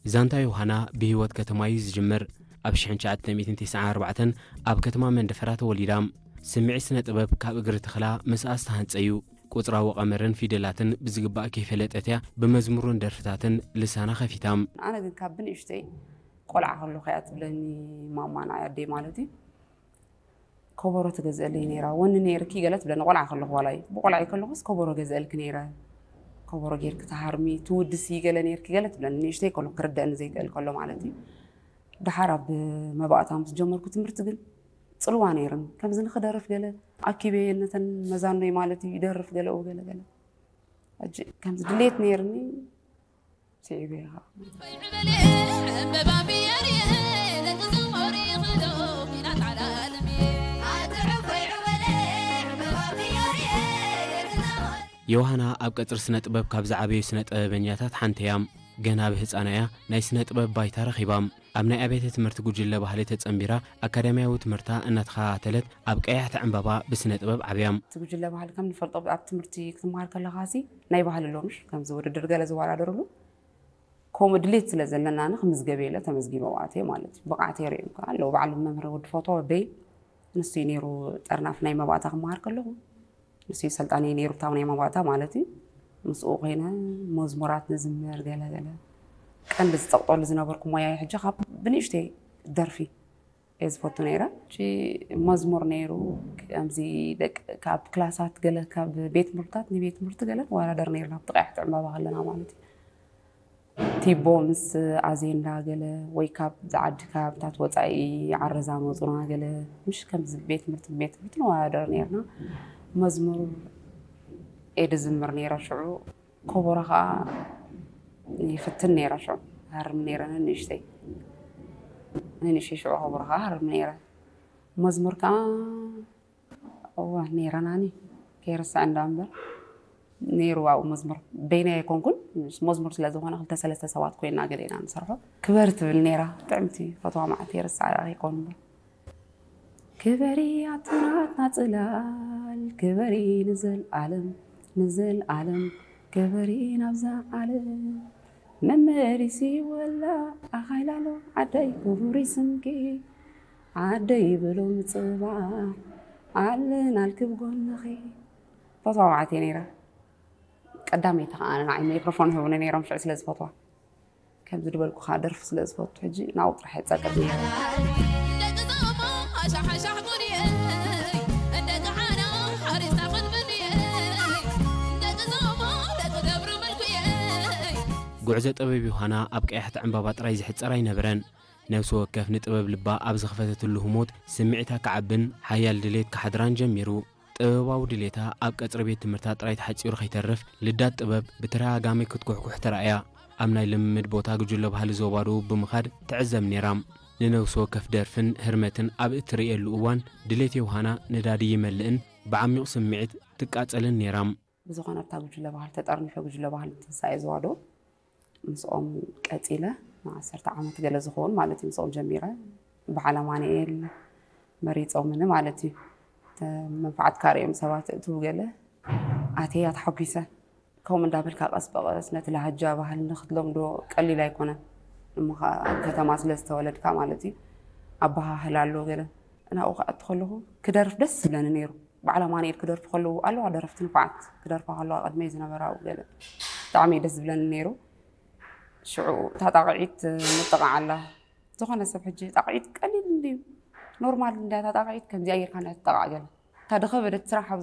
ዛንታ ዮሃና ብህይወት ከተማ እዩ ዝጅምር። ኣብ ሽሕን ትሽዓተ ሚእትን ተስዓን ኣርባዕተን ኣብ ከተማ መንደፈራ ተወሊዳ። ስምዒት ስነ ጥበብ ካብ እግሪ ተኽላ ምስኣ ዝተሃንጸ እዩ። ቁጽራዊ ቀመርን ፊደላትን ብዝግባእ ከይፈለጠት እያ ብመዝሙርን ደርፍታትን ልሳና ከፊታ። ኣነ ግን ካብ ብንእሽተይ ቆልዓ ከለኹ እያ ትብለኒ ማማ፣ ንዓይ ኣደይ ማለት እዩ። ከበሮ ትገዝአለይ ነይራ። "ወኒ ነይርኪ" ገለ ትብለኒ፣ ቆልዓ ከለኹ ዋላ እዩ። ብቆልዓ ከለኹስ ከበሮ ገዝአልኪ ነይረ። "ከበሮ ጌርኪ ትሃርሚ፣ ትውድሲ" ገለ ነይርኪ ገለ ትብለኒ። ንእሽተይ ከለኹ ክርደአኒ ዘይክእል ከሎ ማለት እዩ። ደሓር ኣብ መባእታ ምስ ጀመርኩ ትምህርቲ ግን ጽልዋ ነይርኒ። ከምዚ ንኽደርፍ ገለ ኣኪበየ ነተን መዛኖይ ማለት እዩ፣ ይደርፍ ገለኡ ገለ ገለ። ሕጂ ከምዚ ድሌት ነይርኒ፣ ስዒበ ኢኻ። ዮሃና ኣብ ቀጽሪ ስነ ጥበብ ካብ ዝዓበዩ ስነ ጥበበኛታት ሓንቲ እያ። ገና ብህጻና እያ ናይ ስነ ጥበብ ባይታ ረኺባ። ኣብ ናይ ኣብያተ ትምህርቲ ጉጅለ ባህሊ ተጸንቢራ ኣካዳሚያዊ ትምህርታ እናተኸታተለት ኣብ ቀያሕቲ ዕምባባ ብስነ ጥበብ ዓብያ። እቲ ጉጅለ ባህሊ ከም ንፈልጦ ኣብ ትምህርቲ ክትመሃር ከለኻሲ ናይ ባህሊ ኣሎ ምሽ ከምዚ ውድድር ገለ ዝወዳደርሉ ከምኡ ድሌት ስለ ዘለናኒ ክምዝገብ ኢለ ተመዝጊበ ኣብኡ ኣትየ ማለት እዩ። ብቕዓተይ ርእዮም ከኣ ኣለዉ። ባዕሉ መምህር ወዲ ፎቶ ወደይ ንሱ እዩ ነይሩ ጠርናፍ ናይ መባእታ ክመሃር ከለኹ። ንሱ እዩ ሰልጣነይ ነይሩ እታ ናይ መባእታ ማለት እዩ። ምስኡ ኮይነ መዝሙራት ንዝምር ገለ ገለ። ቀንዲ ዝጸቕጠሉ ዝነበርኩ ሞያይ ሕጂ ካብ ብንእሽተይ ደርፊ እየ ዝፈቱ ነይረ። ሕጂ መዝሙር ነይሩ፣ ከምዚ ደቂ ካብ ክላሳት ገለ ካብ ቤት ትምህርትታት ንቤት ትምህርቲ ገለ ንወዳደር ነይርና፣ ኣብቲ ቀያሕቲ ዕምባባ ከለና ማለት እዩ። ቲቦ ምስ ኣዜንዳ ገለ ወይ ካብ ዝዓዲ ከባብታት ወጻኢ ዓረዛ መጹና ገለ፣ ምሽ ከምዚ ቤት ትምህርቲ ንቤት ትምህርቲ ንወዳደር ነይርና። መዝሙር እየ ዝዝምር ነይረ ሽዑ። ከበሮ ኸኣ ይፍትን ነይረ ሽዑ። ሃርም ነይረ ነንእሽተይ። ነንእሽተይ ሽዑ ከበሮ ኸኣ ሃርም ነይረ። መዝሙር ከኣ እወ ነይረናኒ። ከይርስዕ እንዳ እምበር ነይሩ ኣብኡ መዝሙር። በይነይ ኣይኮንኩን፣ ምስ መዝሙር ስለ ዝኾነ ክልተ ሰለስተ ሰባት ኮይና ገለ ኢና ንሰርሖ። ክበሪ ትብል ነይራ። ጥዕምቲ ፈትዋ መዓልቲ ይርስዓ ደኣ ከይኮን እምበር። ክበሪ ኣቱናትና ጽላል፣ ክበሪ ንዘልኣለም፣ ንዘልኣለም ክበሪ ናብዛ ዓለም። መመሊሲ ወላ ኣኻይላሎ ዓደይ ክቡሪ ስምኪ፣ ዓደይ ብሎ ምጽባሕ ኣለናልኪ ብጎንኺ። ፈትዋ መዓልቲ እየ ነይራ። ቀዳመይቲ ከኣ ንዓይ ማይክሮፎን ይህቡኒ ነይሮም ሽዑ ስለ ዝፈትዋ። ከምዚ ዝበልኩኻ ደርፊ ስለ ዝፈቱ ሕጂ ናብኡ ጥራሕ እየ ጸቅጥ ነይረ። ደቂ ዞሞ ሓሻሓሻሕ ጉድየይ፣ ደቂ ዓና ሓሪስታ ክንብንየይ፣ ደቂ ዞሞ ደቂ ገብሩ ምልኩየይ። ጉዕዞ ጥበብ ዮሃና ኣብ ቀያሕቲ ዕምባባ ጥራይ ዝሕጸር ኣይነበረን። ነፍሲ ወከፍ ንጥበብ ልባ ኣብ ዝኸፈተትሉ ህሞት ስምዒታ ክዓብን ሓያል ድሌት ክሓድራን ጀሚሩ። ጥበባዊ ድሌታ ኣብ ቀጽሪ ቤት ትምህርታ ጥራይ ተሓጺሩ ከይተርፍ፣ ልዳት ጥበብ ብተደጋጋሚ ክትኩሕኩሕ ተራእያ። ኣብ ናይ ልምምድ ቦታ ጉጅለ ባህሊ ዞባ ደቡብ ብምኻድ ትዕዘብ ነይራ። ንነፍሲ ወከፍ ደርፍን ህርመትን ኣብ እትርእየሉ እዋን፣ ድሌት ዮሃና ነዳዲ ይመልእን ብዓሚቕ ስምዒት ትቃጸልን ነይራ። ብዝኾነ ኣብታ ጉጅለ ባህሊ ተጠርኒፈ፣ ጉጅለ ባህሊ ትንሳኤ ዞባ ደቡብ ምስኦም ቀጺለ፣ ንዓሰርተ ዓመት ገለ ዝኸውን ማለት እዩ ምስኦም ጀሚረ። በዓል ኣማኑኤል መሪጾምኒ ማለት እዩ። ተ-፣ መንፈዓትካ ርእዮም ሰባት እትው ገለ ኣትያ ተሓጒሰ። ከምኡ እንዳበልካ ቀስ ብቐስ ነቲ ላህጃ ባህሊ ንክትለምዶ ቀሊል ኣይኮነን። እሞ ኸኣ ኣብ ከተማ ስለ ዝተወለድካ ማለት እዩ፣ ኣበሃህላ ኣሎ ገለ። ናብኡ ክኣቱ ከለኹ ክደርፍ ደስ ዝብለኒ ነይሩ። በዓል ኣማኑኤል ክደርፉ ከለዉ ኣለዋ ደረፍቲ ንፉዓት ክደርፋ ከለዋ ቅድመይ ዝነበራ ኣብኡ ገለ ብጣዕሚ እዩ ደስ ዝብለኒ ነይሩ። ሽዑ እታ ጣቕዒት ምጥቓዕ ኣላ። ዝኾነ ሰብ ሕጂ ጣቕዒት ቀሊል እንድዩ፣ ኖርማል እንድያ እታ ጣቕዒት፣ ከምዚኣ ጌርካ እንድያ ትጠቓዕ ገለ። እታ ዝኸበደት ስራሕ ኣብ